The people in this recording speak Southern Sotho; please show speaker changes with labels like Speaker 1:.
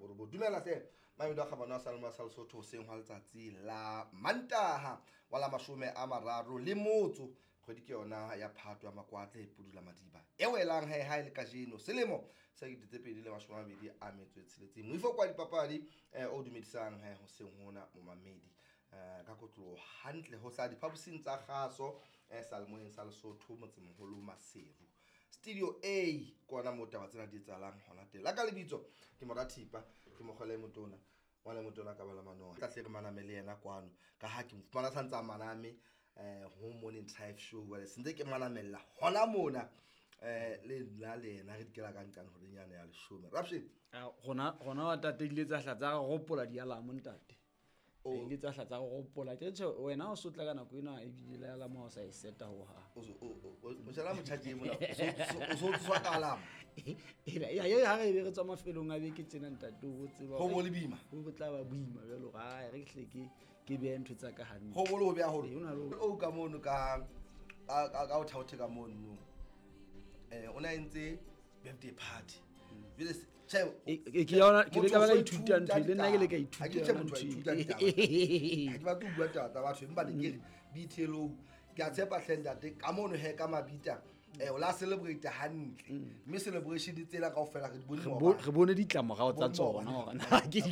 Speaker 1: borobong. Dumela hle mamedi wa kgabane wa Salema sa Lesotho, hoseng hwa letsatsi la Mantaha wa la 30 kgwedi ke yona ya Phato ya Makwatle Pudula Madiba e welang he ha e le kajeno selemo sa 2026. Moifo kwa dipapadi o dumedisang he hoseng hona momamedi ka kotloho hantle ho tla diphaposing tsa kgaso Salemoyeng sa Lesotho, motsemoholo Maseru, Studio A kona moo taba tsena di etsahalang hona teng. La ka lebitso ke Morathipa, ke mokgwele motona ngwana motona ka bala manoa tla hle re maname le yena kwano ka ha ke mo fumana santse a maname ho Morning Drive Show. Jwale sentse ke manamella hona mona le nna le yena re dikela ka nqane horeng yane ya 10. Rapshe
Speaker 2: Gona wa tate ile tsa hla tsa re gopola dialamo ntate. Ile tsa hla tsa re gopola ke tjhe wena o sotla ka nako ena ebile le alamo ha o sa e seta ho hang.
Speaker 1: O jala motjhaji mona o so tswa ka alamo.
Speaker 2: Ya ya ha re be re tswa mafelong a beke tjena ntate o tseba
Speaker 1: ho bo le boima.
Speaker 2: Ho bo tla ba boima jwalo ha re hle ke behe ntho tsa ka hantle.
Speaker 1: Ho bo le ho beha holo.
Speaker 2: Ee, o na le
Speaker 1: O ka mono ka o thaothe ka mono. O na entse birthday party. Jwale tjhe,
Speaker 2: Ke yona, ke le ka ba ka
Speaker 1: motho o
Speaker 2: ithuta ntho, le nna ke le ka
Speaker 1: ithuta
Speaker 2: ithuta
Speaker 1: Ha ke tjhe
Speaker 2: yona
Speaker 1: motho a
Speaker 2: ntho
Speaker 1: ithuta
Speaker 2: e.
Speaker 1: ditaba. Ha ke batle ho bua taba tsa batho, empa ne ke re BTLO, ke a tshepa hle ntate, ka mono he ka mabita, o la celebrate hantle. Mme celebration tsena kaofela re di bone
Speaker 2: Re
Speaker 1: maobane.
Speaker 2: re bone ditlamorao tsa
Speaker 1: Bone
Speaker 2: tsona
Speaker 1: maobane.
Speaker 2: hore na ke
Speaker 1: Ba-